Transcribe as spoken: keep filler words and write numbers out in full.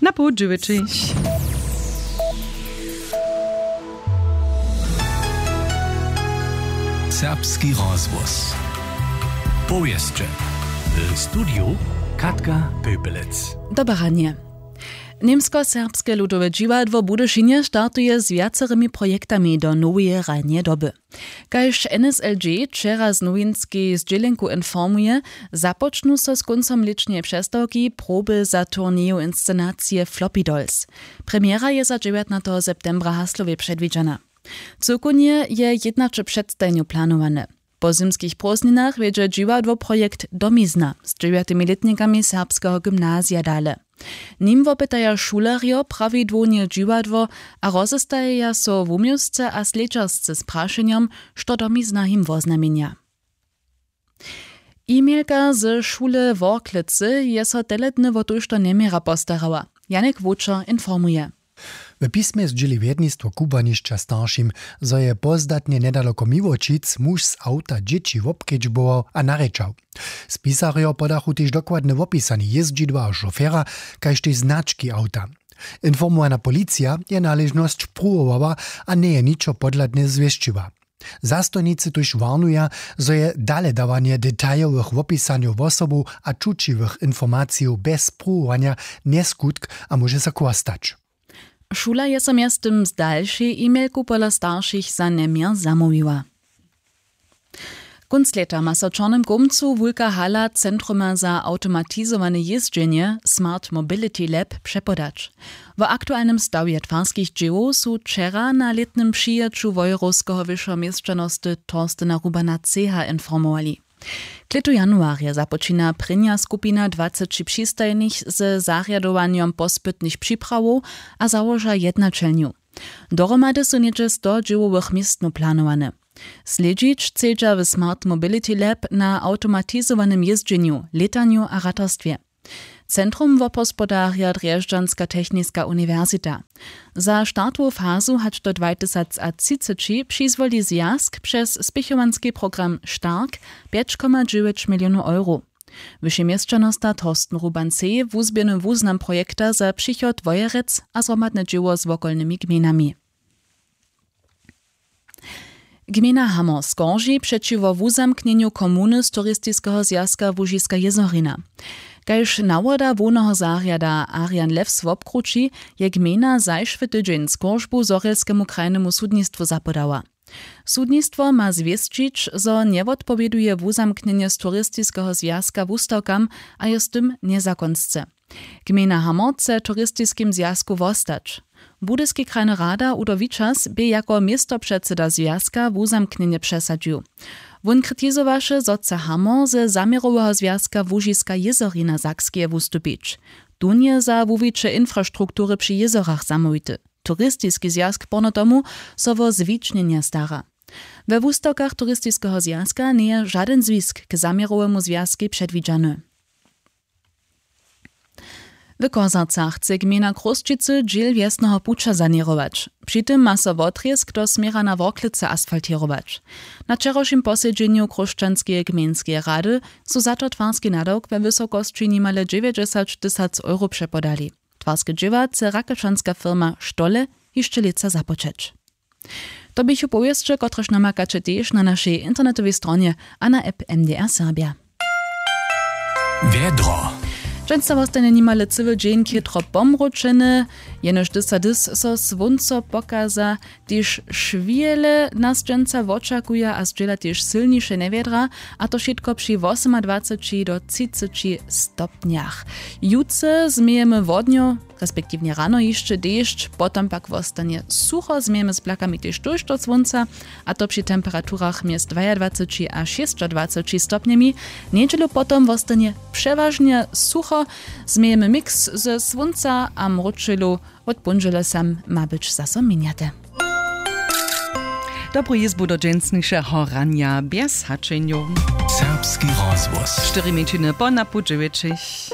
Na połdźewjećich. Serbski rozhłos. Powěsće. W studiju Katka Pepelec. Dobre ranje. Němskoserbske ludowe dźiwadło w Budyšinje startuje z wjacerymi projektami do noweje hrajneje doby. Kaž N S L G wčera z nowinskej zdźělenku informuje, započnu so z kóncom lěćneje přestawki proby za turněju inscenacije Floppy Dolls. Premjera je za dźewjatnateho septembra w Haslowje předwidźana. Cyłkownje je jědnaće předstajenjow planowane. Po zymskich prózdninach wjedźe dźiwadło projekt Domizna z dźewjatymi lětnikami serbskeho gymnazija dale. Nim wopytaja šulerjo prawidłownje dźiwadło a rozestajeja so wuměłsce a slědźersce z prašenjom, što Domizna jim woznamjenja. E-mailka ze šule w Worklecy je so tele dny wo tójšto njeměra postarała. Janek Wočer informuje. W pismje zdźěli wjednistwo kubłanišća staršim, zo je pozdatnje njedaloko Miłoćic muž z awta dźěći wobkedźbował a narěčał. Spisarjo podachu tež dokładne wopisanje jězdźidła a šofera, kaž tež znački awta. Informowana policija je naležnosć pruwowała a njeje ničo podhladne zwěsćiła. Zastojnicy tuž warnuja, zo je daledawanje detajowych wopisanjow wosobow a čućiwych informacijow bjez pruwowanja njeskutk a móže so chłostać. Šula je so mjeztym z dalšej e-mailku pola staršich za njeměr zamołwiła. Kónc lěta ma so w Čornym Kołmcu wulka hala centruma za awtomatizowane jězdźenje Smart Mobility Lab přepodać. Wo aktualnym stawje twarskich dźěłow su wčera na lětnym přijěću wojerowskeho wyšeho měšćanosty Torstena Rubana Ceha informowali. Klětu januarje započina prěnja skupina dwaceći přistajenych ze zarjadowanjom pospytnych připrawow a załoža jednaćelnju. Dohromady su něhdźe sto dźěłowych městnow planowane. Slědźić chcedźa w Smart Mobility Lab na awtomatizowanym jězdźenju, lětanju a ratarstwje. Centrum wobhospodarja Drježdźanska techniska uniwersita. Za startowu fazu hač do dwatysacatřiceći přizwoli zwjazk přez spěchowanski program Stark pjeć koma dźewjeć milionow euro. Wyši měšćanosta Torsten Ruban sej wuzběhny wuznam projekta za přichod Wojerec a zhromadne dźěło z wokolnymi gmejnami. Gmejna Hamor skorži přećiwo wuzamknjenju komuny z turistiskeho zwjazka Łužiska jězorina. Kaž nawoda hłowneho zarjada Arian Lewz wobkrući, je gmejna zašły tydźeń skóržbu zhorjelskemu krajnemu sudnistwu zapodała. Sudnistwo ma zwěsćić, zo njewotpowěduje wuzamknjenje z turistiskeho zwjazka wustawkam a je z tym njezakonsce. Gmejna Hamor chce w turistiskim zwjazku wostać. Budyski krajny rada Udo Wičas bě jako městopředsyda zwjazka wuzamknjenje přesadźił. Wón kritizowaše, zo chce Hamor ze zaměroweho zwjazka Łužiska jězorina Sakskeje wustupić. Tón je za wuwiće infrastruktury při jězorach zamołwity. Turistiski zwjazk porno tomu so wo zwičnjenje stara. We wustawkach turistiskeho zwjazka njeje žadyn zwisk k zaměrowemu zwjazkej předwidźany. W Chorzacach chce gmejna Chrósćicy dźěl wjesneho puća saněrować. Při tym ma so wotrězk do směra na Worklecy asfaltěrować. Na wčerawšim posedźenju Chróšćanskeje gmejnskeje rady su za to twarski nadawk we wysokosći nimale dźewjećdźesat tysac euro přepodali. Twarske dźěła chce rakečanska firma Stolle hišće lětsa započeć. To běchu powěsće, kotrež namakaće tež na našej internetowej stronje a na app M D R Serbja. Wjedro. Dźensa wostanje nimale cyły dźeń chětro pomročeny. Jenož dysa dys so słónco pokaza, tež šwile nas dźensa wočakuja a zdźěla tež sylniše njewjedra, a to wšitko při wosomadwaceći do třiceći stopnjach. Jutře změjemy wodnjo, respektiwnje rano hišće dešć, potom pak wostanje sucho, změjemy z blakami tež tójšto słónca, a to při temperaturach mjez dwajadwaceći a šěsćadwaceći stopnjemi. Njedźelu potom wostanje přewažnje sucho, změjemy miks ze słónca a mróčelu. Wot póndźele sam ma być zaso měnjate. Dobru jězbu do dźensnišeho ranja bjez hačenjow. Serbski rozhłos. Štyri mjeńšiny po napoł dźewjećich.